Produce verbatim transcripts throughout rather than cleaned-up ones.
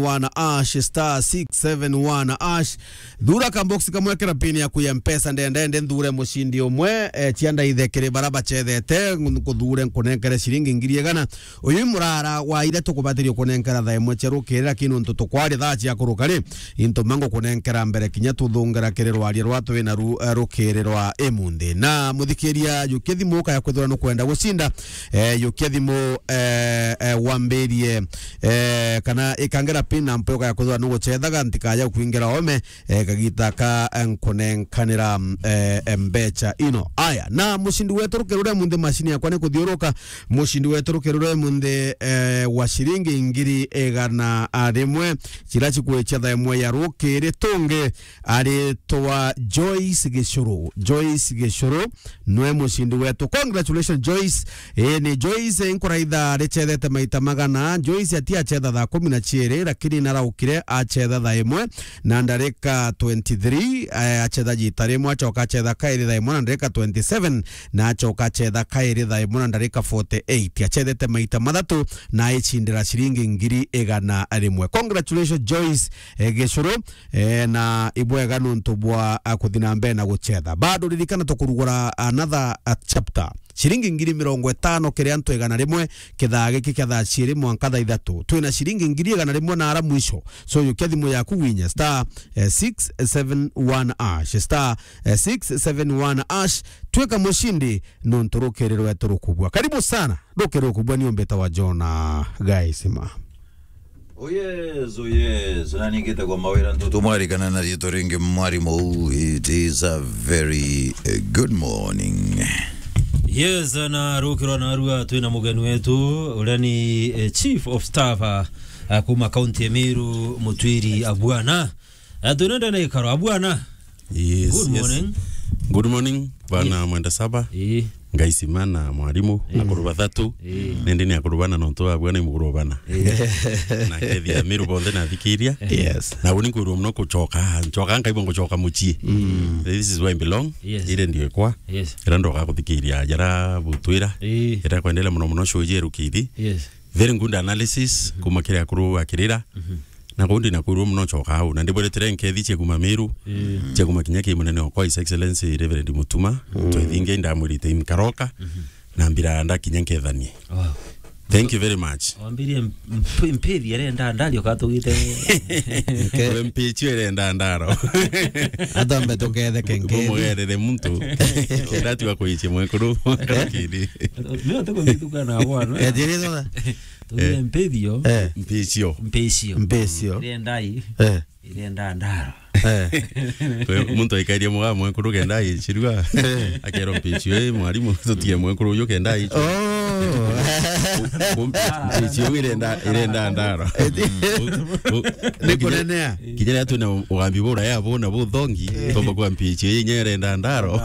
one hash, star six seven one hash. Thura ka box kamwe, kira pin yaku ya Mpesa, ndenda nthure mucindi umwe, eh, cia ndaithe kiri bara bacethete, nkuthure nkunenkere ciringi ngiri igana. Uyu i murara wa iria tukubatiria kunenkera thaa imwe cia rukiri, lakini untu tukwari thaa cia kuruka ri, into mangu kunenkera mbere kinya tuthungera kiri rwaria rwa twina ru-, eh, rukiri rwa imunthi. Na muthikiria, jukia thimu ukaya kwithirwa nukwenda gucinda, eh, jukia thimu, eh, eh, wambirie, eh, kana ikangira pin na mpe ukaya kwithirwa nugucethaga, ntikaya kwingira ome, eh, kagita ka, eh, nkunenkanira, eh, eh, mbecha ino. Aya, na mucindi wetu rukiri ruria munthi, mashini yakwa ni kuthiuruka, mucindi wetu rukiri ruria munthi, eh, wa ciringi ngiri igana rimwe, cira cikwicia thaa imwe ya rukiri, tungi aritwa Joyce Gicuru. Joyce Gicuru nwe mucindi wetu. Congratulations, Joyce. Ii ni Joyce, eh, nkuraitha ricethete maita magana. Joyce ati acetha thaa kumi na ciiri, lakini naraukire acetha thaa imwe na ndarika twenty-three, eh, acetha jita rimwe, acoka acetha kairi thaa imwe na ndarika twenty-seven, na acoka acetha kairi thaa imwe na ndarika forty-eight. Acethete maita mathatu na aicindira ciringi ngiri igana rimwe. Congratulations, Joyce, eh, Gicuru. Eh, na ibwega nontu bwa, ah, kuthi na mbere na gucetha. Bado ririkana tukurugura another, ah, chapter. Ciringi ngiri mirongo itano kiri antu igana rimwe, kithaa giki kia thaa ciiri mwanka thaa ithatu. Twina ciringi ngiri igana rimwe na ara mwisho. So, yukia thimu yaku winye star, eh, six seven one hash, star, eh, six seven one hash. Twika mucindi nontu rukiri rwetu rukubua. Karibu sana. Rukiri rukubua ni umbita wa Jona Gaisima. Oh yes, oh yes. Na ningite kwa mawira ntutu mwarikana na riitwa ringi mwarimu. It is a very, eh, good morning. Yes, na rukirwa na arua twina mugeni wetu, uria ni, eh, Chief of Staff, ah, ah, kuma kaunti ya Meru, Mutwiri Abwana. Ah, twina ndene ikaro, Abwana. Yes, good morning. Good morning, bana Mwenda Saba. Ii. Ngaisima na mwarimu, akuru bathatu. Ii. Nindi ni akuru bana nontu abua ni mukuru bana. Ii. Na kethia Meru bonthe na thikiria. Yes. Na uni nkwirwo muno kucoka, ncoka nkaigua ngucoka mucii. Mm. This is where I belong. Yes. Ire ndio ikwa. Yes. Ira ndoka kuthikiria jara butwira. Ii. Ira kwendelea muno muno show jeru kiri. Yes. Very good analysis, kuma kiri akuru akirira. Mhm. Na kundi na kwirwo muno coka au. Na ndibweretire nkethi cia kuma Meru, mm, cia kuma kinya ki munene okwa His Excellency Reverend Mutuma, mm, twethingia indamwirite inkaroka, mhm, na mbira ndakinya nkethanie. Wow. Thank you very much. Wambirie mp-, mp-, mpithi irenda ndari ukatugite. We mpichi irenda ndaro. Atambe tuketheke nkethi. Bumugerere muntu. Kenda tiwa kuichia mwekuru. Kidi. Leo tuko mituka na bwana. Eh, jiri sasa. Tugire, eh, mpithio. Eh. Mpichio. Mpithio. Mpithio. Irendai. Eh. Irenda ndaro. Eh. Kwe muntu aikairie muga mwekuru kenda aichirua. Eh. Akero mpichio, eh, mwarimu, tutie mwekuru uyu kenda aichirua. Oh. Ku-, ku-, mpichio irenda, irenda ndaro. Eh. Ku-, ku-, ni kunenea. Kinya riria twina ugambi bura ya bona buthongi, eh, tomba kwa mpichio inya irenda ndaro.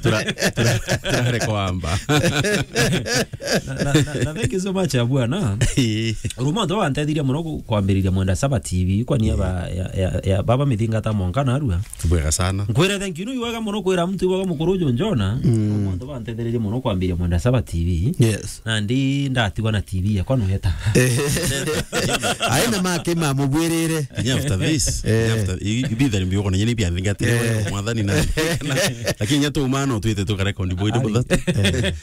Tura-, tura-, turare kwamba. Na, na, na, na thank you so much, Abwana. Ii. Urumwe antu bantethirie muno ku-, kwambiriria Mwenda Saba T V, kwani ya, ii, ba-, ya, ya, ya baba Mithingata mwanka narua. Bwega sana. Nkwire thank you, ni wega muno kwira mtu wega mukuru uju Njona. Mm. Urumwe antu bantetheririe muno kwambiria Mwenda Saba T V. Yes. Na ndi ndatigwa na T V yakwa nuheta. Aina make mamubwirire. Kinya after this, eh, kinya after, i-, i-, ibitha ni mbiuko na nyeni bia thingatire, eh, mwathani na, lakini nya tu mano twite tukarekondi boy. Ari. Buthatu. Eh.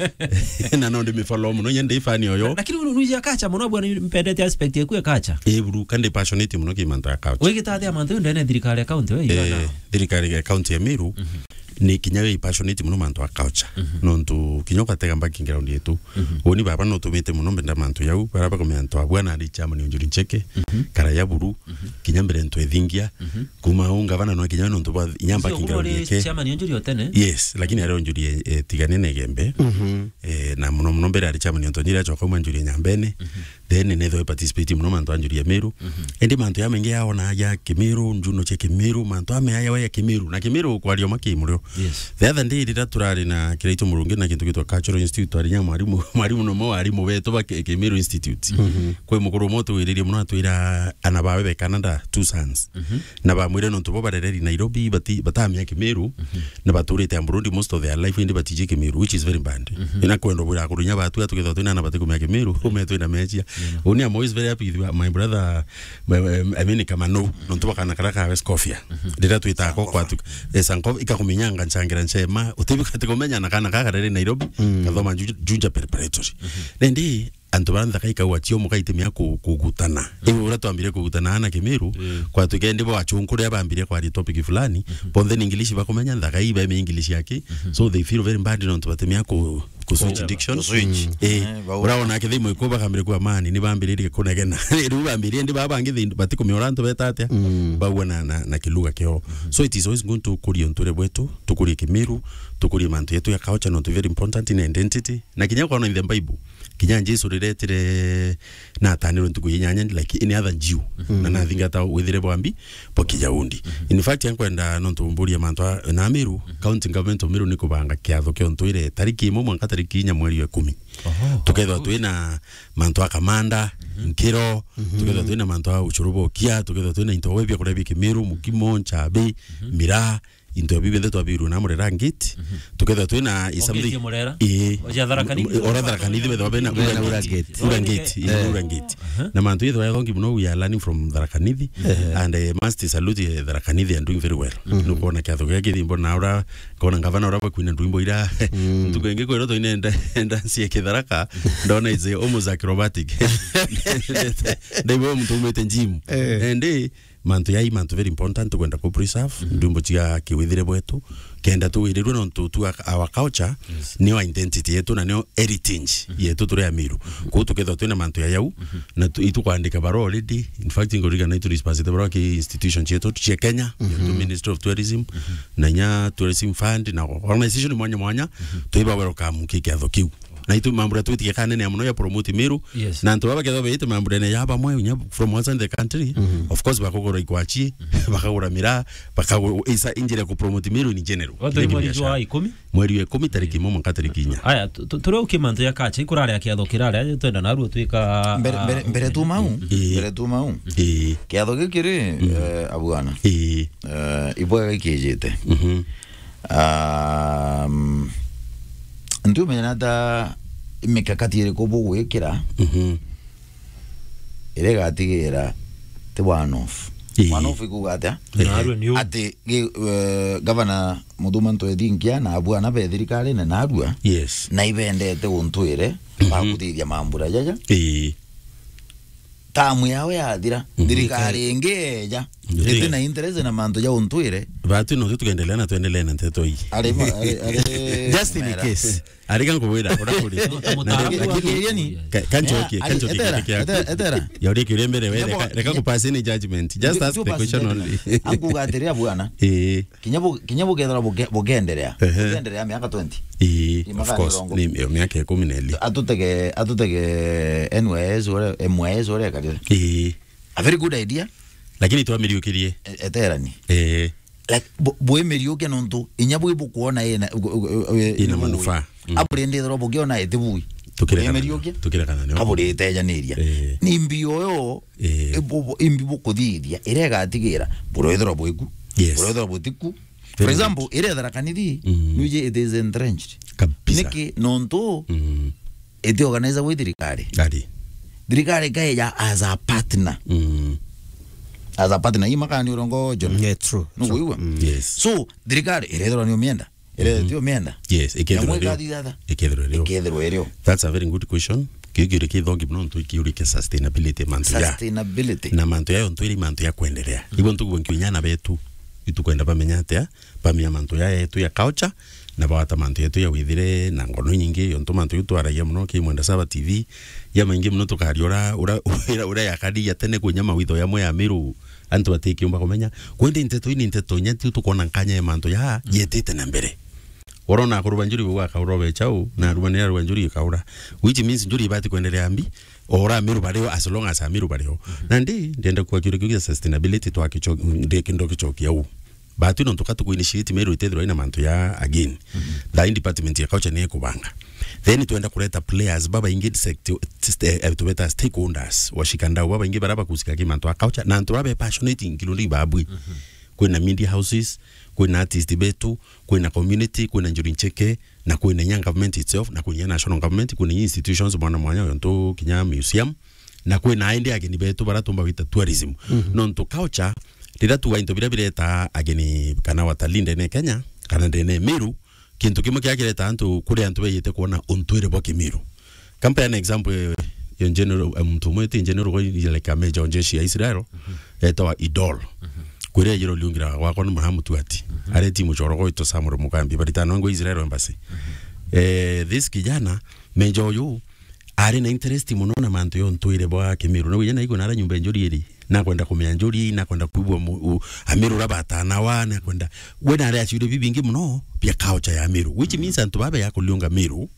Na no ndi mi follow muno, nya ndi fan oyo. Lakini unu nuja kacha muno bwana, mpendete aspect yaku ya kacha. Eh, buru, kandi passionate muno ki mantu ya culture. Wigitathia mantu ndene thirikari ya county, we, eh, igana. Thirikari ya county ya Meru. Mhm. Ni kinya wi passionate muno mantu a culture. Mhm. Nontu kinya ugatega background yetu. Mhm. Uni baba no tumite muno mbenda mantu yau, bara bakomea antu abwa na ari chairman Onjuri Ncheke, mhm, kara ya buru, mhm, kinya mbere ntu ethingia, mhm, kuma u ngavana no kinya nontu bwa inya background yeke. Chairman Onjuri otene? Yes, lakini ari Onjuri, eh, eh, tigane na Igembe. Mhm. Eh, na muno muno mbere ari chairman ontu nyira achoka uma Onjuri Nyambene. Mhm. Then nethwe participate muno mantu a Njuri ya Meru. Mhm. Indi mantu ya mengi yaona ya Kimiru, njuno cia Kimiru, mantu ame ya ya Kimiru. Na Kimiru kwaria ma Kimurio. Yes. The other day rira turari na Kiraitu Murungi na kintu gitwa Cultural Institute, twari nya mwarimu, mwarimu no mo arimu betu ba Ki-, Kimiru Institute. Mhm. Kwi mukuru mo tuwiririe muno atwira ana bawe be Canada, two sons. Mhm. Na bamwire nontu bo barereri Nairobi, bati-, batamia Kimiru, mhm, na baturite Burundi most of their life, indi batiji Kimiru, which is very bad. Mhm. Ina kwenda bwira akuru inya batu atukethwa twina na batikumia Kimiru, ume twina mechia. Uni, I'm always very happy with my brother, my, my, I mean, Kamano, nontu bwa kana karia ka West Kofia. Riria twitaga ko kwatu, eh, Sankofa, ikakumenyanga nchangira nchema, utibikati kumenya na kana kaka riri Nairobi, kathoma Ju-, Juja Preparatory. Nindi, antu bara nthaka ikauga cio muka itimia ku-, kugutana. Iwe uria twambire kugutana na Kimiru, kwatuike ndi bo achunku riria bambire kwaria topic fulani, bonthe ni English bakumenya, nthaka ii baime English yaki. So they feel very bad nontu batimia ku-, ku switch diction. Ku switch. Eh, eh, bau- uraona kithimo iko bakambire kwa amani, ni bambiririe kunegena. Riu bambiririe ndi baba bangi thi-, batikumiora antu beta atia, bauga na, na, na kiluga kio. So it is always good tukurie untu uri bwetu, tukurie Kimiru, tukurie mantu yetu ya culture, nontu very important in identity. Na kinya ukaona in the Bible, kinya Jesu riretire na atanirwe ntuku ya inyanya, like any other Jew. Na nathingata withire bwambi bwa Kiyahudi. In fact, ankwenda nontu mburia mantu a, na Meru, County Government of Meru ni kubanga kiatho kia untuire tariki imwe mwanka tariki inya mweri wa ikumi. Tukethwa twina mantu a kamanda, nkiro, tukethwa twina mantu a ucuru bokia, tukethwa twina into bia kuria bia Kimiru, mukimo, nchabi, miraa, into bibi bionthe twabirwe na Murera Gate. Tukethwa twina is something Murera? Ii. Oja Tharaka Nithi? Ora Tharaka Nithi, bethwa bena Ura Gate. Ura Gate, ii, Ura Gate. Na mantu yethwa yathongi muno, we are learning from Tharaka Nithi. And, eh, must salute, eh, Tharaka Nithi are doing very well. Nukwona kiatho gia kithimbo na ura, kona ngavana ura bakwina ndwimbo ira. Ntuku ingi kwirwo toine nda-, ndansi ya Kitharaka, ndona is almost acrobatic. Ndaibo muntu umite gym. And, eh, mantu yai, mantu very important tukwenda ku preserve, ndwimbo cia kiwithire bwetu, kenda tuwirirwe nontu tu our culture, nio identity yetu na nio heritage yetu turi Amiru. Kuu tukethwa twina mantu ya yau, na tu-, itukwandika barua already. In fact, ngurigana itu dispensate barua ki institution cietu cia Kenya, yetu Ministry of Tourism, na inya Tourism Fund, na organization mwanya mwanya, tuiba welcome ki kiatho kiu. Na itu mambo ya twitige kanene ya muno ya promote Meru. Yes. Na antu baba kethwa beite mambo ya bamwe, unya from outside the country, of course, bakugura ikwachi, bakagura miraa, bakagura isa injira ku promote Meru in general. Watu ni mweri jwa ikumi? Mweri wa ikumi, tariki imwe mwanka tariki inya. Aya, tu-, tu-, turia uki mantu ya kacha, ikurare ya kiatho kirare, twenda narua twika, mbere, ah, mbere, mbere tu mau, ii, mbere tu mau. Ii. Kiatho gikiri, mm, eh, abwana. Ii. Eh, ibwega ikijite. Mhm. Um, ntiumenya ta mikakati iriku bugwikira, mhm, iria igatigira ti one off. Ii. One off ikuuga atia? Ehe. Narua ni u- ati gi-, eh, gavana Mutuma Ntwethinkia na abwana be thirikarine narua, yes, na ibendete untwire, mhm, ba kuthithia mambura jaja. Ii. Tamu yao yathira, mhm, thirikari ingi eja, iti na interest na mantu ja untwire. Batu no tukendelea na twendelee na nteto ii. Ari ma-, ari, ari Just in case. Arika ngubwira, ura kuri. Lakini, ka-, kanchokie, kanchokie kiria kiaku. Etera, etera. Ya uri kiuria mbere, we, reka, reka kupasi ni judgment. Just ask the question only. Akuga atiri, abwana. Ii. Kinya bu-, kinya bukethira buke-, bukenderea. Ehe. Bukenderea miaka twenty. Ii, of course. Ni miaka ikumi na ili. Atutege, atutege N Y S uria, M Y S uria ekarire. Ii. A very good idea. Lakini twamiriukirie. E-, eterani. Ii. Like, bu-, bwimiriukia nontu inya bwi bukwona ina, u-, u-, u-, u-, ina manufaa. Mm. Aburindithirwa bukiona iti bui. Tukire kana nio. Tukire kana nio. Aburitejaniria. Ii. Ni mbio yo. Ii. Ibu-, bu-, imbi bukuthithia, iria igatigira, burethirwa bwiku, yes, burethirwa butiku. For example, iria Tharaka Nithi, mm, nuiji it is entrenched. Kabisa. Niki? Nontu, mm, iti organize gwi thirikari. Ari. Thirikari ikaija as a partner. Mm. As a partner, ii makani urongo, John. Yeah, true. Nukuigua? Mm. Yes. So, thirikari irethirwa ni umienda. Ira, mhm, ti umienda. Yes, ikethirwa irio. Ikethirwa irio. Ikethirwa irio. That's a very good question. Kiu kiuria kithongi muno ntu ikiuria kia sustainability, mantu ya. Sustainability. Na mantu yayo ntu iri mantu ya kwendelea. Mhm. Ibo ntukuwa nkiunya na betu. Itukwenda bamenya atia, bamenya mantu ya yetu ya culture, na bawata mantu yetu ya withire na ngono nyingi, yontu mantu yu twaragia muno ki Mwenda Saba T V, ya maingi muno tukaria ura, ura, ura, ura yakari ya tene kwinya mawitho yamwe ya Miru. Antu batikiumba kumenya. Kwendi nteto ii ni nteto inya tiu tukwona nkanya ya mantu ya, mm, yetite na mbere. Urona akuru ba njuri bauga akaura obe chau, na aruma ni arua njuri ikaura. Which means njuri ibati kwendelea mbi, ora Amiru bario, as long as Amiru bario. Mhm. Na ndi, ndienda kwa kiuria kiu kia sustainability twa kicho-, ndi kindo kichokia u. Batu nontu ka tuku initiate Meru itethirwa ina mantu ya again. Mhm. Thaa ii department ya culture ni ikubanga. Then twenda kureta players babaingi, sector, st-, eh, tubeta stakeholders, washikandau babaingi bara bakusika ki mantu a culture, na antu babe passionate including babwi. Mhm. Kwina media houses, kwina artist betu, kwina community, kwina njuri ncheke, na kwina inya government itself, na kwina inya national government, kwina inya institutions mwana mwanya, ontu kinya museum, Na kwina indi ageni betu bara tumba gwita tourism. Mhm. Nontu culture, riria tuga into biria bireta ageni kana watalii ndene Kenya, kana ndene Meru, kintu kimwe kiria kireta antu, kuri antu beyite kwona untwire bwa Kimiru. Kampa an example, eh, yo general, eh, muntu umwe ti general kwa ile kame jonje cia Israel, mhm, etawa Idol. Mhm. Kwire yiro liungira gwakwa ni Muramu Tuati. Mhm. Are timu choro gwa ito Samuel Mugambi, baritano ngo Israel embassy. Mhm. Eh, this kijana, mejo uyu, ari na interest muno na mantu yo ntwire bwa Kimiru. Na winya naigua nara nyumba njuri iri, nakwenda kumenya njuri, nakwenda kuigua mu-, u-, Amiru ra batanawa, nakwenda, we nari aciure bibingi muno bia culture ya Amiru, which means antu babe ya kuliunga Miru,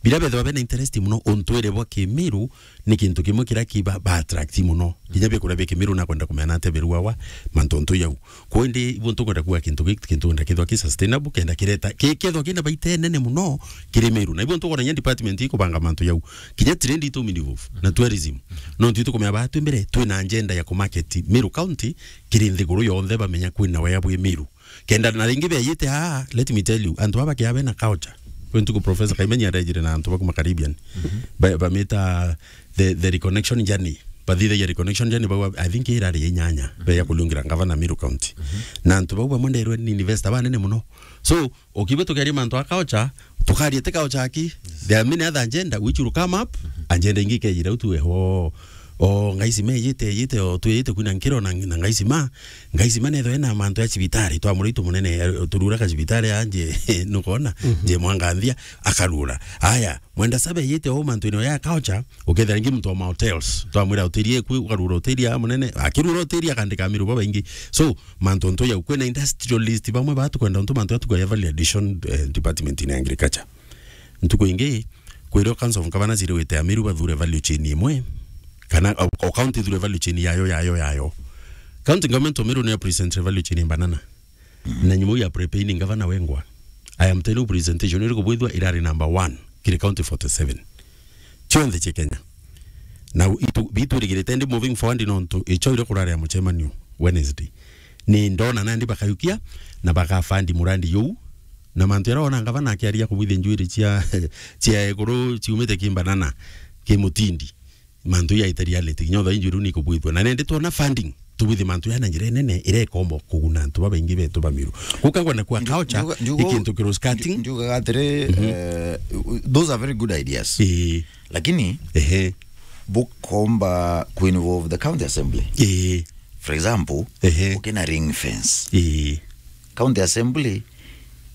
bila bethwa bena interest muno untwire bwa Kimiru, ni kintu kimwe kira kiba ba attract muno. Kinya bia kuria bia Kimiru nakwenda kumenya na atia biruawa, mantu ntu yau. Kwa indi, ibo ntukwenda kuga kintu giki, kintu nda kithwa ki sustainable, kenda kireta, ki-, kethwa kina baita nene muno kiri Meru. Na ibo ntukwona nya department ikubanga mantu yau. Kinya trade itu minivu na tourism. No ntu itukumenya batu mbere, twina agenda ya kumarket Meru County kiri nthiguru yonthe bamenya kwina wea bwi Meru. Kenda na ringi beyite, ah, let me tell you, antu baba kia bena culture. Kwe ntuku Professor Kaimenya arejire na antu bakuma Caribbean. Mhm. Ba-, bamita the, the reconnection journey. Bathithagia reconnection journey, bagwa, I think irari ya inyanya, mhm, beya kuliungira ngavana Meru County. Mhm. Na antu bau bamwe nderwe ni investor banene muno. So, ukibe tukeria mantu a culture, tukaria ti culture aki. Yes. There are many other agenda which will come up, mhm, agenda ingi ikejira utu eho. O, ngaisima ijite, ijite, o, twiyite kwina nkiro na, na ngaisima. Ngaisima netho ena mantu ya cibitari, twa muritu munene, eh, turura ka cibitari anje, nukona, mhm, je mwanganthia, akarura. Aya, Mwenda Saba ejite o mantu ino ya culture, ukethira ingi muntu wa ma hotels. Twamwira hoteli eku, ukarura hoteli ya munene, akirura hoteli akandika Amiru babaingi. So, mantu ntu yau, kwina industrialist bamwe batu kwenda ntu mantu atu kwa value addition, eh, department in agriculture. Ntuku ingi, kwirwo Council of Governors iriwite Amiru bathure value chain imwe, kana o, o county ithure value chain yayo, yayo, yayo. County government o Meru niyo present value chain ya banana. Mm. Na nyumo ya prepay ni ngavana wengwa. I am telling you presentation iri kubwithwa irari number one kiri county forty-seven. Chionthe chia Kenya. Na itu, bitwirigirite ndi moving forward nontu icho ire kurari ya muchemanio Wednesday. Ni ndona nandi bakayukia na bakafandi murandi yuu. Na mantu yara ona ngavana akiaria kubwithia njuiri chia, chia iguru chiumite kimbanana, kimutindi. Mantu ya ita reality, kinya thaa injury ni kubwithwa. Na nende twona funding, tubwithi mantu ya na njira nene, ira ikombo kuguna antu babaingi betu ba Miru. Guka ngwenda kwa culture, njuga, njuga, ikintu kiru skirting. Njugaga atiri, mhm, eh, those are very good ideas. Ii. Lakini, ehe, bukomba ku involve the county assembly. Ii. For example, ehe, ukina ring fence. Ii. County Assembly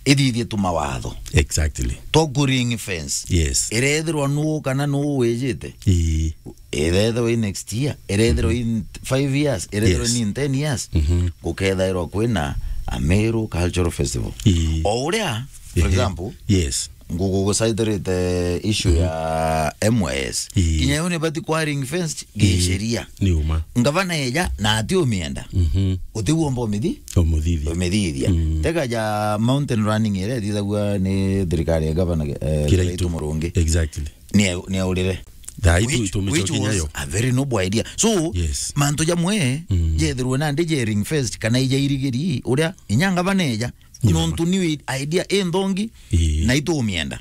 ithithie tu mawatho. Exactly. To ku ring fence. Yes. Irethirwa nuu kana nuu wijite. Ii. Irethirwa i next year, irethirwa, mhm, in five years, irethirwa, yes, ni in ten years. Mhm. Gukethairwa kwina Amiru Cultural Festival. Ii. O uria, for, ehe, example, yes, ngugu gucitarite issue, mhm, ya M Y S. Ii. Kinya yo ni bati kwa ring fence, ii, gisheria. Ni uma. Ngavana eja na ati umienda. Mhm. Utiwomba umithi? Umuthithia. Umithithia. Mm. Tega ja mountain running ire thithagua ni thirikari ya gavana, eh, Kiraitu. Kiraitu Murungi. Exactly. Ni, ni aurire. Thaa itu, which, itu which micoki was nyayo. A very noble idea. So, yes, mantu jamwe, mm, jethirwe nandi je ring fence, kana ija irigiri, uria inya ngavana eja. Ni nontu ni idea inthongi, ii, na itumienda.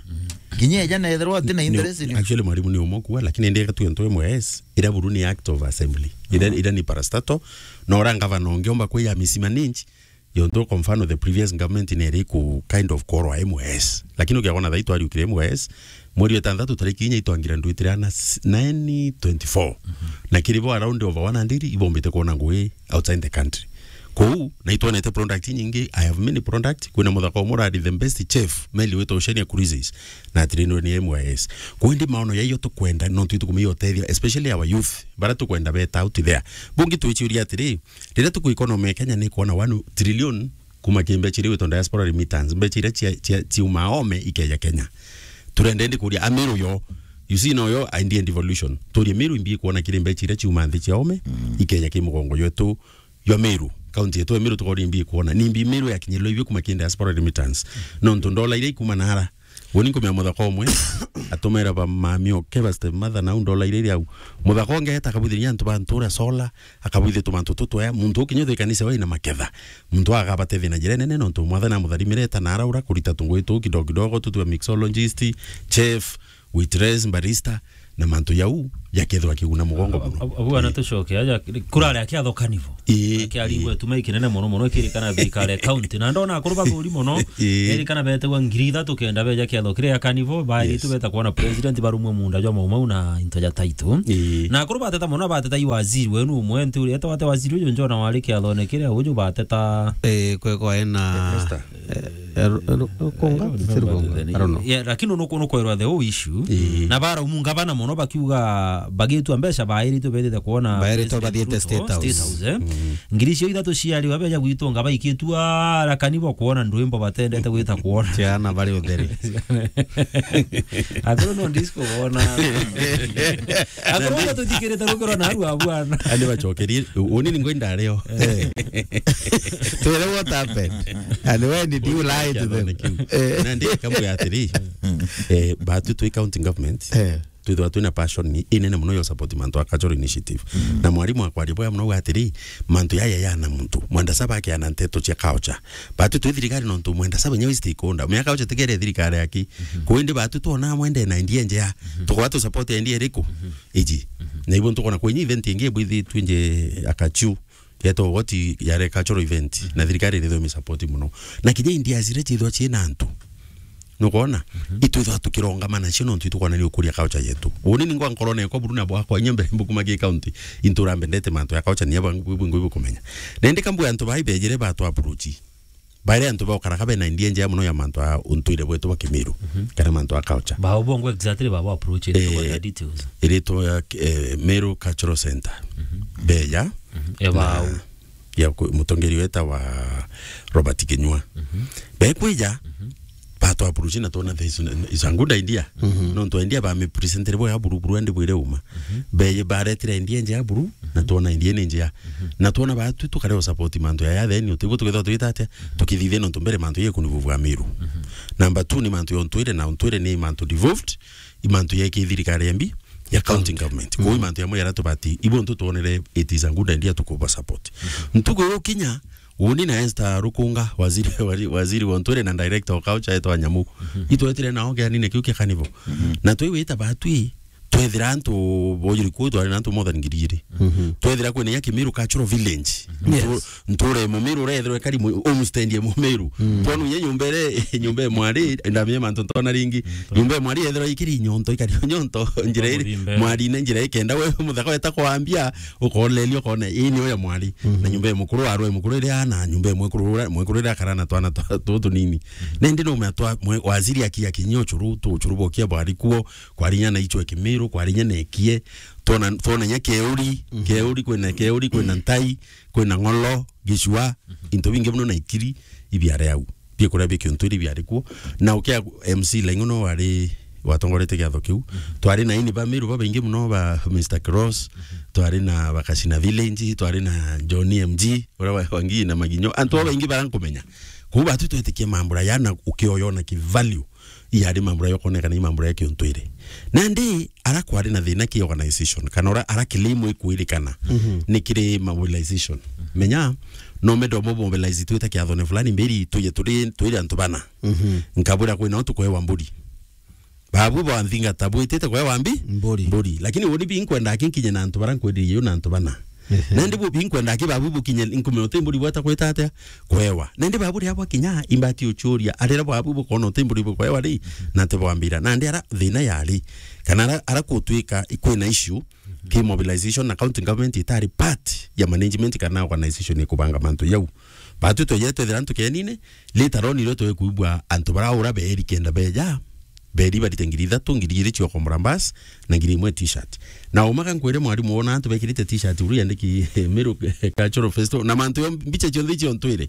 Kinya eja na ethirwa ati na interest ni, actually, mwalimu ni umwe kuwa, lakini ndi gatue ntu imwe, yes, ira buru ni act of assembly. Ira, mm, ira ni parastatal, na ura ngavana ungiomba kwiya misima ninji, yontu kwa mfano the previous government ni iri ku kind of korwa M Y S. Lakini ukiona thaa itwariukire M Y S, mweri wa itantatu tariki inya itwangira ndwitire ana s-, nine twenty-four. Mhm. Na kiri bo around over one hundred ibombite kuona ngui outside the country. Kou, na itwonete product nyingi, I have many product, kwina muthaka umwe urari the best chef, meli witwa Oceania Cruises, na atrainwe ni M Y S. Kou indi maono yaiyo tukwenda, no twi tukumia utethia, especially our youth, bara tukwenda beta out there. Bungi twichuria atiri, riria tuku economy ya Kenya ni kuona one trillion, kuma ki mbecha iria gwitwa diaspora remittance, mbecha iria cia, cia, ciuma ome ikeja Kenya. Turenda indi kuria Amiru yo, you see, no yo idea devolution. Turie Miru imbi kuona kiri mbecha iria ciuma nthi cia ome, mm, ikeja ki mugongo jwetu jwa Miru. County yetu ya Miru tukori imbi kuona. Ni imbi Miru yakinyirwa ibi kuma ki diaspora remittance. Nontu ndola iria ikuma nara, Woni nkumenya muthaka umwe, atumira ba mami oke, ba stepmother, nau ndola iria iri au. Muthaka ungi eta akabwithiria antu ba ntura solar, akabwithia tumantu tutwea, muntu ukinya uthikanise waina maketha. Muntu agabatethia na njira nene, nontu mwathani amutharimire eta na araura kurita tungui tuu kidogo kidogo, tutwa mixologist, chef, waitress, barista, na mantu jau jakethirwa kiguna mugongo muno. Abu, abu ana tucoke aja, kurari akiatho kanivo. Ii, akiaringwa ii. Tuma ikinene muno muno, ikirikana thirikari ya county. Na ndona akuru bathuri muno, ii. Erikana betegwa ngiri ithatu kenda beja kiatho kiria kanivo, bari Yes. tu beta kuona president barumwe munda jwa maumau na into ja title. Ii. Na akuru bateta muno, bateta i waziri wenu umwe, nti uri, eta wate waziri uju njona wari kiathone kiria uju bateta. Eh, kwekwa ena Esther. Eh, eh, ru-, ru-, rukunga? Ti rukunga. I don't know. Yeah, lakini nuku-, nukwerwa the whole issue. Ii. Na baraumu ngavana muno bakiuga bagitua mbeca bairitwe bethite kuona Bairitwe President bathiite Ruto, State House. State House, eh? Mm. Ngiri icio ithatu ciari babeja gwitunga baikitua arakani bo kuona ndwimbo batendete gwita kuona. Ciana bari utheri. Akuru no disco bona. Akuru no tuthikirite rukiro na aru abwana. Andi bacokerie, uni ni ngwenda areo. Eh. Twere what happened. And when did you lie to them? Kiu. Eh. Na ndi kamwe atiri, eh, batu twi county government, Eh. twithwa twina passion ni inene muno yo support mantu a cultural initiative. Mm. Na mwarimu akwaria bwega muno atiri, mantu yaya yana muntu. Mwenda saba akiana nteto cia culture. Batu twi thirikari nontu mwenda saba nyawe stakeholder. Miaka culture tikere thirikari aki. Mhm. Kuindi batu twona mwende na idea njea. Mhm. Tukwa tu support idea iriku? Mhm. Iji. Mhm. Na ibo ntukona kwenye event ingi bwithitwe nje akachu. Yeto woti yare cultural event, na thirikari irithomi support muno. Na kinya India zire chithwa china antu. Nukwona? Mhm. Itwithwa tukirongamana cio nontu itukwona ni ukuria culture yetu. Uni ni ngwa nkorone kwa buruna bwakwa, inya mbere mbukuma ki county, intura mbendete mantu ya culture ni aba ngu-, ngu-, ngu-, kumenya. Na indi kambu antu bai bejire batu approach. Baire antu baukaraga bena idea njea muno ya mantu a untwire bwetu bwa Kimiru, Mhm. kana mantu a culture. Bao bongo exactly babo approach it Eh, kwa details. Iritwa ya, eh, Meru Cultural Center. Mhm. Beja. Mhm. E Na bao. ya ku-, mutongeri weta wa Robert Kinyua. Mhm. Bekwija, Mhm. batu approach na twona there is, is a good idea. Mhm. Nontu idea ba me present bwega buru buru andi bwire uma. Mhm. Beye baretire idea njea buru, na Mhm. twona idea ni njea. Mhm. Na twona batu tukare o support mantu ya ya then, utibu tukethwa twita atia, Mhm. tukithithia nontu mbere mantu ye kunivu bwa Miru. Mhm. Number two ni mantu ya untwire, na untwire ni mantu devolved, i mantu ya ki thirikari ya mbi, ya county County. government. Kwa Mm. mantu ya mwe yara tubati, ibo ntu tuonere it is a good idea tukuba support. Mhm. Ntuku yo kinya, uni na Esther Rukunga, waziri, waziri, waziri wa untwire na director wa culture etwa Nyamu. Mhm. Itwetire nao kianine kiu kia kanivo. Mhm. Na twiwita batwi, twethira antu bojuri ku twari na antu more than ngiri igiri. Mhm. Twethira kwina ya Kimiru Cultural Village. Mhm. Ntu-, Yes. nture Mumiru urethirwe kari mu-, homestead ya Mumiru. Mm. Twanu ya nyumba ire, nyumba ya mwari, ndamenya mantu ntona ringi. Mm, nyumba ya mwari ethirwa ikiri nyonto, ikari nyonto, njira iri, Mubimbe. Mwari ne njira ikenda we muthaka weta kwambia, ukolelia ukone, ii ni ya mwari. Mhm. Na nyumba ya mukuru arwe mukuru iri ana, nyumba ya mwekuru ura-, mwekuru iri akara na twana twa-, tutu nini. Mhm. Nende no mwa twa, mwe-, waziri aki, aki nyo churu, tu churu bokia bwari kuo, kwari nya na ichwe Kimiru, kwari nya na ekie, tona, tona nya keuri, Mhm. keuri, kwina keuri, kwina ntai, kwina ng'olo, gicua, Mhm. into bingi muno na ikiri, ibiare au. Biekuria bi kiuntwiri biari kuo. Na ukia M C Laing'o no wari watongorete giatho kiu. Mhm. Twari na ini ba Miru babaingi muno ba Mister Cross, Mhm. twari na Bakasina Village, twari na Johnny M G, uria wa, wa Ngii na Maginyo. Antu babaingi barankumenya. Kuu batu twetikia mambura ya na ukioyona ki value. Iyari mambura yokonekana i mambura ya kiuntwiri. Nandi ara kwari na thina ki organization, kana ora ara claim ikwirikana Mhm. ni kiri mobilization. Menya, no mendo mo mobilize twita kiathone fulani mbiri tuye turi, twiri antu bana. Mhm. Nkabwira kwina o tukwewa mburi. Babu ba nthingata bwitite kwewa mbi? Mburi. Mburi. Lakini uni bi nkwenda kinkinye na antu bara nkwendiriye na antu bana. Ehe. Nandi bu binkwenda ki babu bukinye nkume uti mburi bwata kwita atia? Kwewa. Nandi babu ria bwakinya imbati uchuria. Arira babu bukona uti mburi bukwewa ri, na te bwambira. Nandi ara thina yari. Kana ara, ara kutwika ikwina issue, ki mobilization na county government itari part ya management kana organization ikubanga mantu yau. Batu twejere twethira antu kenine, later on irio twekuigua antu bara ura beri kenda beja, beri barite ngiri ithatu, ngiri igiri cia ukomora bus, na ngiri imwe t-shirt. Na umaga nkwire mwarimu wona antu bekirite t-shirt uru yandiki Meru Cultural Festival, na mantu yo mbicha cionthe ciontwire.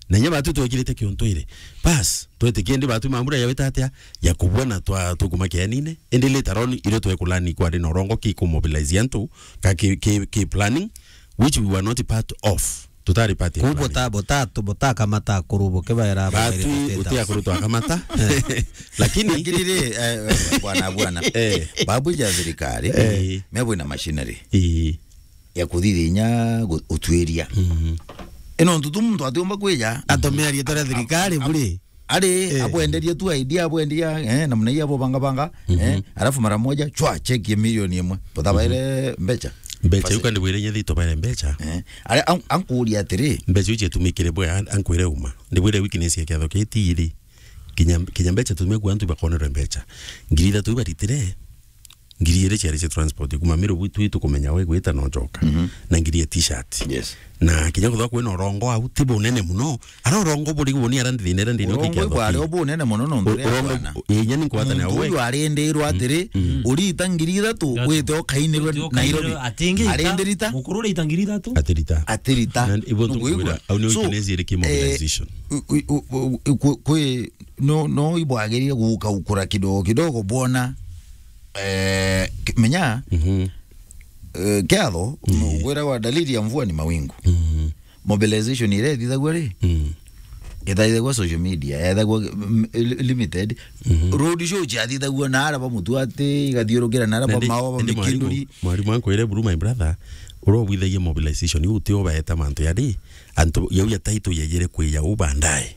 Na nya batu twekirite kiontu ire. Bas, twete kiendi batu mambura ya wita atia, ya kubona twa tukuma kianine. Indi later on, irio twekulani kwari na urongo ki ku mobilize antu, ka ki, ki, ki planning, which we were not part of. Tutari part ya planning. Ku bota, bota, tu, bota kamata akuru buke baera batu, baere utia akuru twakamata. Eh. Lakini lakini ri, eh, bwana, bwana. Eh. Babu ja thirikari, Eh. mebwe na machinery. Eh. ya kuthithinya gu-, utwiria. Mhm. Ino ntutu muntu atiumba kwija. Atumia riitwa ria thirikari buri. ari, eh, abwenderie tu idea, abwendia, eh, namna hii abo banga banga, mhm, eh, alafu mara moja, chwa, cheki ya milioni imwe. Buthabaire mbecha. Mbecha, basi. Uka ndibwire inya thito baire mbecha. Eh, ari, an-, ankuria atiri. Mbecha iu cietumikire bwe, an-, ankwire uma. Ndibwire weakness ya kiatho kii ti iri. Kinya, kinya mbecha tumie kwa antu bakonerwe mbecha. Ngiri ithatu ibaritire. Ngiri iri ciari cia transport. Kuma Miru gwitu tukumenya we gwita no njoka. Mhm. Na ngiri ya t-shirt. Yes. Na kinya kuthwa kwina urongo au, ti bunene muno. Ara urongo buri guni ara nthini, ara nthini. Urongo ibwari o bunene muno nontu ria urongo bwana. Inya ni nkwatana muntu we. Uyu arindirwe atiri, mm, urita ngiri ithatu, ithatu, wite ukainirwe Nairobi. Atingi ita, arindirita. Mukuru urita ngiri ithatu? Atirita. Atirita. Na ibo ntukwira, au ni weakness iri ki mobilization. So, eh, u-, u-, u-, u-, kwi, kwi, no, no ibwagirire guka ukura kidogo kidogo bwona, eh, ki-, menya, mhm, eh, kiatho, mm, gwira wa dalili ya mvua ni mawingu. Mhm. Mobilization iria ithithagua ri? Mm. Ithaithagua social media, ethagua, mm, li-, limited. Mhm. Road show ciathithagua na ara ba Mutuati, igathiurukira na ara ba Mao, ba Mikinduri. Mwarimu, mwarimu ankwire buru, my brother, uria ubwithagia mobilization, iu ti ubaeta mantu ya ri, antu yau ya title yeyire kwija u baadaye.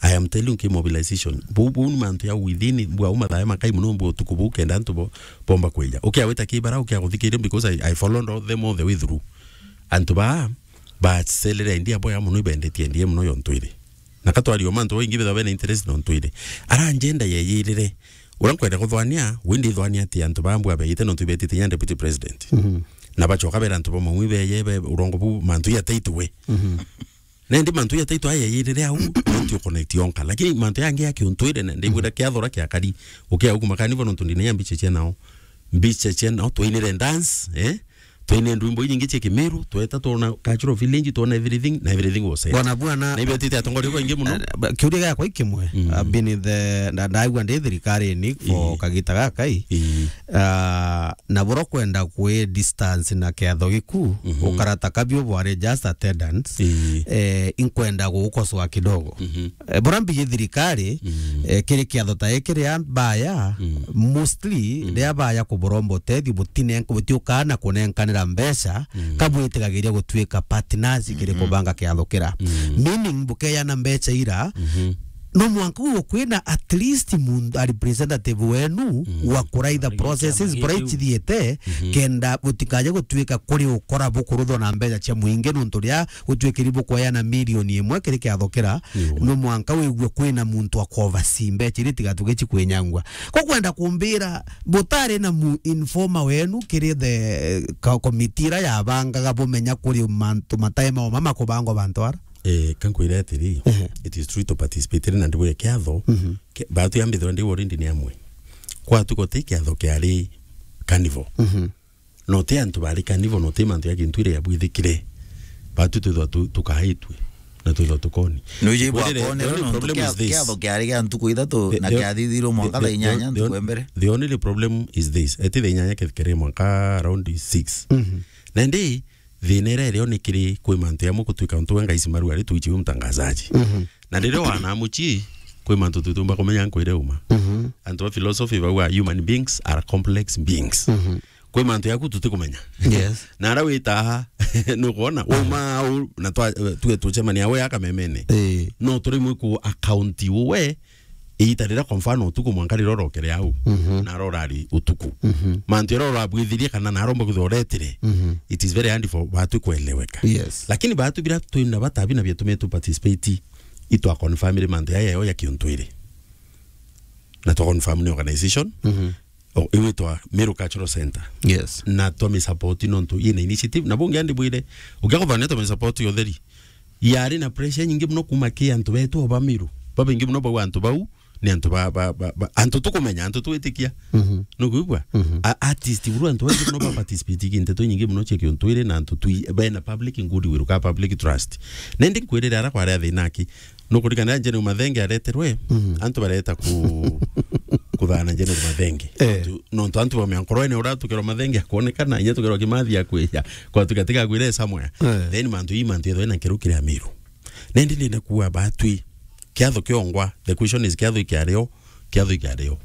I am telling you, mobilization. Bu, bu ni mantu ya within, bwa uma thae makai muno, bwa utuku bu kenda antu bo, bomba kwija. Ukia wita kibara, ukia guthikiria, because I, I followed all them all the way through. Antu ba, bacelera endia boya muno, ibendetie endia muno yontwire. Na katwari o mantu boingi betha bena interest nontwire. Ara njenda yeyirire. Ura nkwenda kuthwania, windi ithwania ati antu ba mbwa beyite nontu ibetite nya deputy president. Mhm. Na bachoka bera antu ba maumi beye, be, urongo bu, mantu ya title we. Mhm. Na indi mantu ya title aya yirire au, nontu uconnect yonka. Lakini mantu yangi ya kiuntwire, na ndibwira kiathora kia kari, ukia uku makanivo nontu ndina ya mbicha cia nao. Mbicha cia nao, twainire dance, eh? Twaine ndwimbo inyingi cia Kimiru, tweta twona cultural village, twona everything, na everything was set. Bwana bwana, na ibetite atongoria baingi muno. Eh, ba-, kiuria giakwa ikimwe, mm, I've been in the, na, ndaigua ndi thirikarini for, mm, kagita gaka i. Mm. Ah, na boro kwenda kwi distance na kiatho giku, mhm, ukarata kabio bware just attendance. Ii. Eh, inkwenda gugukosoa kidogo. Mhm. Eh, bora mbigi thirikari, mm, eh, kiri kiatho ta giki ria baya, mm, mostly, mm, ria baya kuburomba utethio, butine-, butiukaa na kunenkanira mbeca, mm, kabwitigagiria gutuika partners kiri, mhm, kubanga kiatho kira. Mm. Meaning, bukeana mbeca ira, mhm, no mwanka uyo kwina at least muntu, a representative wenu, mm, wa kuraitha processes bura icithiite, mhm, kenda butikaje gutuika kuri ukora bukuruthwa na mbeca cia muingi, nontu ria gutuikiri bukweana milioni imwe kiri kiatho kira, no mwanka wigue kwina muntu akovaci mbeca iria itigatuke cikwinyangwa. Ko kwenda kumbira butari na mu informer wenu kiri the ka-, committee ira yabangaga bumenya kuri mantu matae maoma makubangwa bantu ara? Eh, kankwira atiri, ehe, it is true to participate na ndibwire kiatho, mhm, ke-, batu yambithirwa ndi already ni amwe. Kwatu gote kiatho kiari carnival. Mhm. No ti antu bari carnival, no ti mantu ya kintu iria yabwithikire. Batu twithwa tu-, tukaitwe, na twithwa tukoni. Nuji bwa the, the, kone the only no problem kia-, is this. Kiatho kiari gia ntuku ithatu the, na the, kiathithirwo mwanka the, thaa inyanya the, ntuku ya mbere. The only problem is this. Eti thaa inyanya kethikere mwanka around six. Mhm. Na ndi, thina iria irio ni kiri kwi mantu yamwe gutuika untu we Ngai Simaru ari tuichi wi mtangazaji. Mhm. Na riria wana muchi, kwi mantu tutumba kumenya nkwire uma. Mhm. Antu ba philosophy bauga human beings are complex beings. Mhm. Kwi mantu yaku tutikumenya. Yes. Na ara witaha, nukwona, uma au, na twa-, tuge tucemania we akamemene. Ii. No turi mwe ku account we, iita riria kwa mfano utuku mwanka riria urokere au, mhm, na ara urari utuku. Mhm. Mantu jaria urabwithirie kana na aromba kwithirwa uretire, mhm, it is very hard for batu kueleweka. Yes. Lakini batu bira twina batabi na bia tume tu participate, itwa confirm ri mantu yaya yo ya kiuntwiri. Na twa confirm ni organization. Mhm. O, iwitwa Meru Cultural Center. Yes. Na twa mi support nontu yina initiative. Na bungi andi bwire, ukia kuthania twa mi support yo theri. Yari na pressure nyingi muno kuma ki antu betu o ba Meru. Babaingi muno bau antu bau, ni antu ba, ba, ba, ba, antu tukumenya, antu twitikia. Mhm. Nukwigua? Mhm. A-, artist buru antu baingi muno ba participate ki nteto nyingi muno cia kiuntwiri na antu twi, bena public goodwill ka public trust. Nendi nkwirire ara kwari athina aki. Nukuririkana General Mathenge areterwe, mhm, antu bareta ku-, kuthana General Mathenge. Eh. Nontu, nontu antu bamea nkorwene ura tukerwa Mathenge akwonekana, inya tukerwa Kimathi akwija, kwa tukatiga kwire somewhere. Eh. Then mantu ii mantu yethwe na nkeru kiri Amiru. Nendi ndenda kuwa batwi. Kiatho kiongwa. The question is, kiatho ikiario, kiatho ikiario.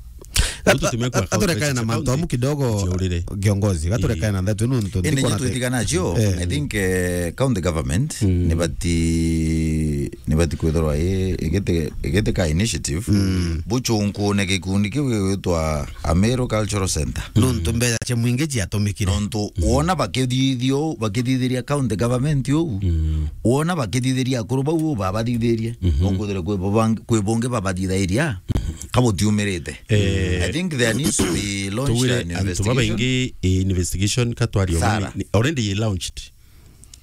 Gatu-, gaturekane na mantu amu kidogo, kiongozi, gaturekane na ndeto ino ntu. Indi ndikwona nyetu te- itigana cio, eh, I think, eh, county government, mm, nibati, nibati kwithirwa i-, igiti-, igiteka initiative, mm, buchunkune gikundi kiu gigwitwa Ameru Cultural Centre. Nontu mbeca cia mwingi ciatumikire. Nontu, mm, wona bakithithio, bakithithiria county government uu, mm, wona bakithithiria akuru bau uu babathithirie, mhm, nokwithirwa kwi bubang-, kwi bungi babathithairia, mhm, kabutiumirite. Eh, I think there needs to be launched tugwire an antu investigation. Babaingi, eh, investigation katwario thara. Ni, ni, already ye launched.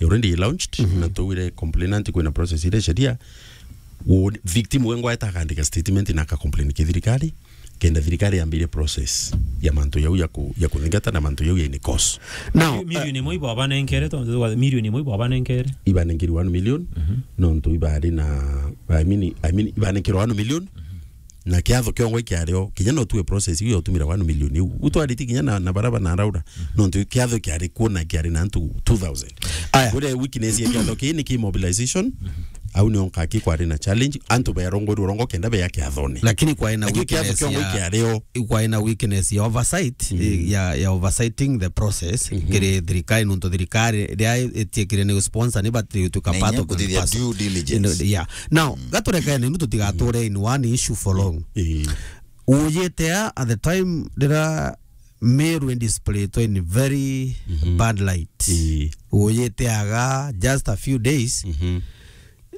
Already launched, mhm, na tugwire complainant kwina process ire sheria. Wo-, victim wengwa eta akandika statement na aka complain ki thirikari, kenda thirikari yambire process ya mantu yau ya ku-, ya kuthingata na mantu yau ya ini cause. Now, mi-, milioni imwe ibo abanenkere, tontu twa milioni imwe ibo abanenkere. Ibanenkirwe one million, mhm, nontu ibari na, I mean, I mean, ibanenkirwe one million, mhm. Na kiatho kiongwa ikiario, kinya no tuwe process iu ya utumira one million iu. Utwariti kinya na, na baraba na Laura. Mhm. Nontu kiatho kiari kuo na kiari na antu two thousand. Aya. Kure weakness ya kiatho kii ni ki mobilization. Mhm. Au ni onka ki kwari na challenge. Antu bearongorwa urongo kenda bea kiathone. Lakini kwari na weakness ya, kwari na weakness ya oversight, mhm, eh, ya, ya oversighting the process. Mhm. Kiri thirikari, nontu thirikari ria itiekire ni sponsor, ni bati tuka part of the process. Due diligence. Yeah. Now, mm, gaturekene nu tutigature in one issue for long. Ii. Ujite a, at the time rira Meru indisplaitwe in very, mhm, bad light. Ii. Ujite aga just a few days, mhm,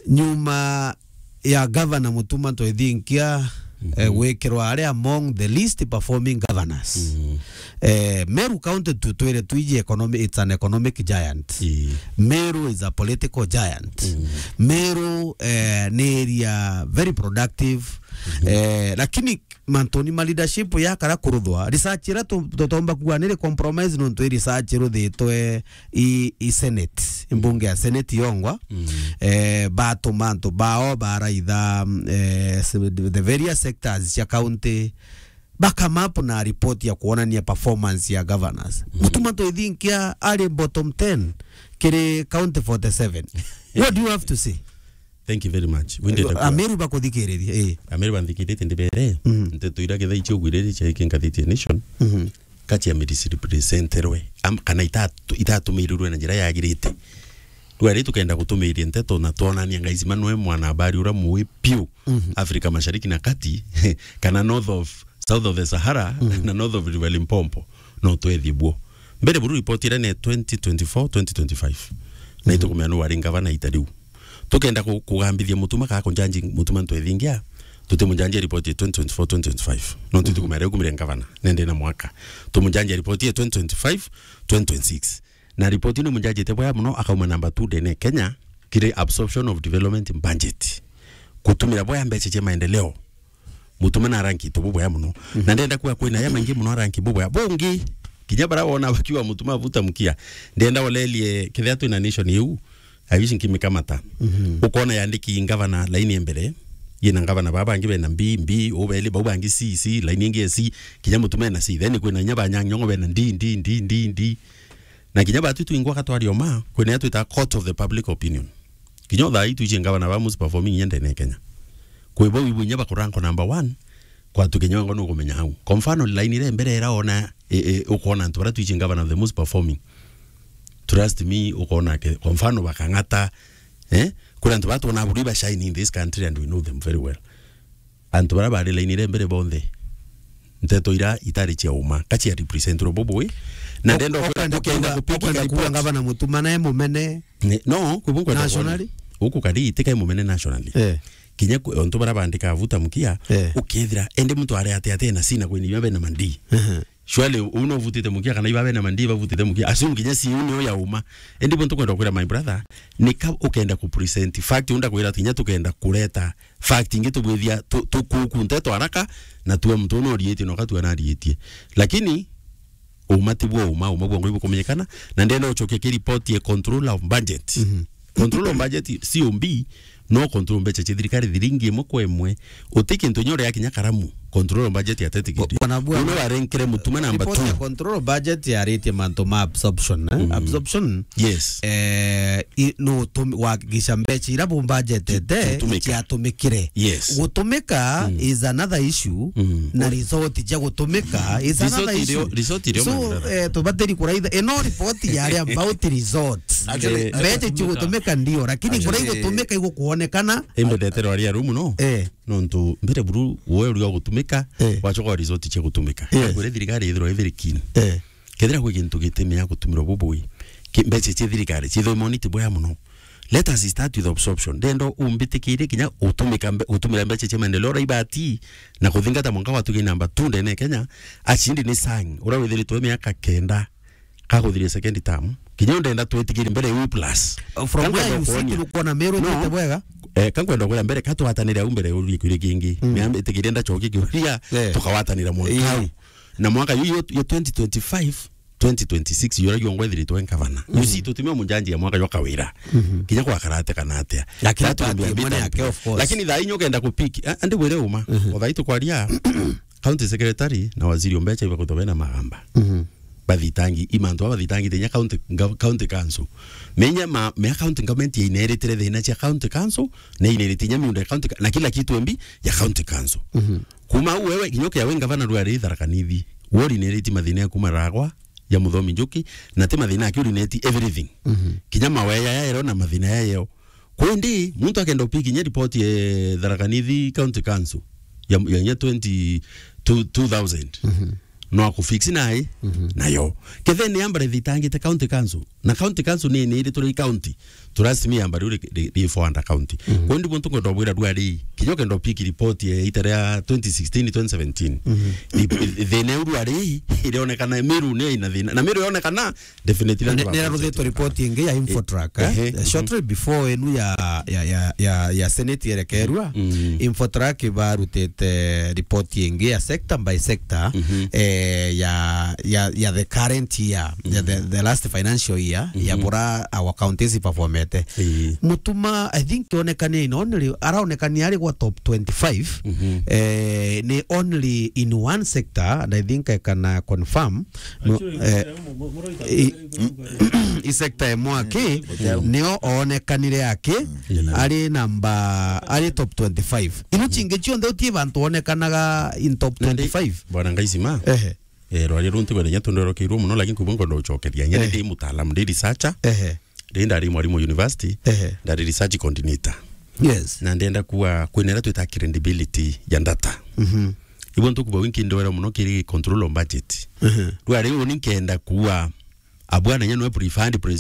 nyuma ya governor Mutuma Ntwethinkia, mhm, eh, gwikirwa ari among the least performing governors. Mhm. Eh, Meru County tu-, twire twiji economy, it's an economic giant. Ii. Meru is a political giant. Mhm. Meru, eh, ni area very productive. Mhm. Eh, lakini mantuni ma leadership ya kara kuruthwa, research ira tu-, tutomba kuga ni ri compromise nontu i research iruthitwe i, i Senate, i mbunge ya Senate yongwa. Mm. Eh, batuma antu bao baraitha, eh, se-, the various sectors cia county, bakamapu na report ya kuonania performance ya governors. Mm. Mutuma Ntwethinkia ari bottom ten kiri county forty-seven. What do you have to say? Thank you very much. Wende ndakwa. Ameru bakuthikiriria, eh. Ameru banthikiritie ndibere. Mm. Nteto ira ketha icio ugwiriri cia iki nkathitie nation. Mhm. Ka cia misrepresenterwe, am-, kana itatu-, itatumirirwe na njira yagirite. Riu ari tukenda gutumiria nteto na twonania Ngaisima nwe mwana habari ura mui piu, mhm, Afrika Mashariki na Kati, kana north of, south of the Sahara, mhm, na north of River Limpopo, no twethie buo. Mbere buru report ira ne twenty twenty-four, twenty twenty-five. Na, mhm, itukumenya nu wari ngavana ita riu. Tukenda ku-, kugambithia Mutuma kana kunjanji Mutuma Ntwethingia, tutimunjanjia report ya twenty twenty-four, twenty twenty-five. No, mhm, tutikumenya riu kumire ngavana, nende na mwaka. Tumunjanjia report ya twenty twenty-five, twenty twenty-six. Na report ni munjanjite bwega muno, akauma number two ndene Kenya, kiri absorption of development budget. Kutumira bwega mbeca cia maendeleo. Mutuma na ranki tu bubwea muno. Mhm. Na ndenda kuga kwina ya maingi muno ranki bubwea. Bungi, kinya bara wona bakiwa Mutuma avuta mukia. Ndenda olelie kethia twina nation iu. I wish nkimikamata. Mhm. Ukona yandiki ngavana laini ya mbere. Yina ngavana baba bangi bena B, B, ubeli bau bangi C, C, laini ingi ya C. Kinya Mutuma ena C. Then kwina inya banyang'nyong'o bena D, D, D, D, D. Na kinya batu twingwa katwari oma, kwina ya twita court of the public opinion. Kinya thaa ii twichie ngavana ba most performing inya ndene ya Kenya. Kwi bau ibu inya bakurankwa number one, kwatu kinya wengwa nukumenya au. Kwa mfano, line ira mbere ira ona, e, e, ukona antu bara twichie ngavana the most performing. Trust me, ukona ke, kwa mfano, bakang'ata, eh? Kuri antu bara twona buri ba shine in this country and we know them very well. Antu bara bari line ira mbere bonthe, nteto ira itari cia uma, ka cia represent ro bubui. Na ndenda ukwenda, ukwenda kupiga, ukwenda kupiga report. Ngavana Mutuma nae mumene. Ne, no, kwi bu nkwenda nationally? Kuona. Uku kari itika i mumene nationally. Eh. Kinya ku-, ontu bara bandika avuta mukia, eh, ukethira, ende muntu ari ate ate na sina kwini iba bena mandi. Ehe. Surely, u no uvutite mukia kana iba bena mandi bavutite mukia? Assume kinya si u nio ya uma. Indi bu ntukwenda kwira my brother, ni ka ukenda ku present fact, unda kwira ati kinya tukenda kureta fact ingi tubwithia tu-, tukuku nteto haraka, na tuwe muntu uno orietie na ukatua na arietie. Lakini, uma ti bwo uma, uma bwa ngui bukumenyekana, na ndenda ucokia ki report ye control of budget. Mhm. Control of budget, C O B, no control mbeca cia thirikari thiringi imwe kwa imwe. Uti kintu inya uria kinya karamu. control budget ya Teti Kidi. Bwana Bua, Uno warenkere Mutuma number report ya two. Control budget yaritie mantu ma absorption, eh? Mm. Absorption. Yes. Eh, i-, no tumi-, wakigisha mbeca ira bu budgetete Gutumika. Ciatumikire. Yes. Gutumika Mm. is another issue, Mm. na result cia gutumika is Result another irio, issue. Result irio So, mathara. Eh, tubatiri kuraitha, ino report yari about result. Actually, Eh, mbeca cigutumika ndio, lakini Actually, kuria igutumika igukuonekana. Imbendete rwaria rumu no? Eh. Nontu mbere buru woe uria ugutumika, Eh. wachoka wa result cia gutumika. Yes. Kwire thirikari ithirwa ithiri kini. Eh. Kethira kwi gintu gitimea gutumirwa bubui, ki-, mbeca cia thirikari ciithwe moniti bwea muno. Let us start with absorption. Ndenda umbitikirie kinya utumika mbe-, utumira mbeca cia maendeleo ura ibati na kuthingata mwanka wa tugi namba two ndene Kenya, achindi ni sang, ura withiritwe miaka kenda kakuthiria second term. Kinya ndenda twitikirie mbere u plus. From where you sit, ukwona Meru No. Ithite bwega? Eh, kankwenda kwira mbere, katwatanire au mbere urie kiuria kingi. Mm. Miambe itikirie ndachokie kiuria, Eh. tukawatanira mwanka Eh. au. Na mwaka yu, yu, yu twenty twenty-five, twenty twenty-six, yura yu ngwethiritwe ngavana. Mm. You see, tutimia munjanji ya mwaka jwa kawira. Mhm. Kinya kwa karate kana atia. Lakini That will be a party bit mwene yake, unfair. Of course. Lakini thaa inyo kenda kupiki, a-, andi wire uma. Mhm. O thaa itu kwaria, county secretary na waziri o mbeca iba kuthobe na magamba. Mhm. Bathitangi, imantu aba bathitangi tinya county, nga-, county council. Menya ma, mea county government ya ineritire thina cia county council, na ineritire nya miunda ya county ka-, na kila kitu embi ya county council. Mhm. Kuma au wewe, kinyoke ya we ngavana rwari Tharaka Nithi. Wori nereti mathina ya kuma ragwa, ya Muthomi Njuki, na ti mathina yake urineti everything. Mhm. Kinya maweya ya ero na mathina ya yeo. Kwendi, muntu akenda upiki nya report ya Tharaka Nithi County Council ya, ya nya twenty, two, two thousand. Mhm. No akufix nae, Mhm. nayo. Kethe ni ambare thitangite County Council. Na County Council ni, ni iri turi county. Turasimi amba riu ri, ri, ri four under county. Mhm. Kwendi muntu ngwenda ubwira rwari, kinya ukenda upiki report ya ita ria twenty sixteen, twenty seventeen. Mhm. Ri, ri, thina iu rwari, irionekana Meru ni ina thina. Na Meru yonekana, definitely. Ni, ni raruthitwe report ingi ya Infotrack, eh, eh, eh, eh, shortly before enu ya, ya, ya, ya, ya Senate yerekerua, Mm. Infotrack barutite report ingi ya sector by sector, Mhm. eh, ya, ya, ya the current year, ya the, Mhm. the last financial year, ya Mhm. bura our counties performete. Ii. Mutuma, I think, onekania in only, araonekania ari gwa top twenty-five, Mhm. eh, ni only in one sector, and I think I can, uh, confirm, No, Actually, eh, mu-, mu-, mu-, i-, i sector ya mwaki, Mm, hotel. Nio oonekanire aki, Mm. Ari namba, ari top twenty-five. Ino chingi chionthe utie bantu onekanaga in top Nandi, twenty-five. Bwana Ngaisima, Ehe. Eh, rwaria runtu kwenda nya tondorokirwo muno, lakini kubwa ngondo uchokeria. Nya Eh. Ndi mutaalamu, ndi researcher. Ehe. Ndi ndari mwarimu university, Ehe. Ndari research coordinator. Yes. Na ndenda kuwa kwinera twita credibility ya data. Mhm. Ibo ntukuba winki ndwera muno kiri control on budget. Mhm. Rwari uni nkenda kuwa abwana nya nwe preferred president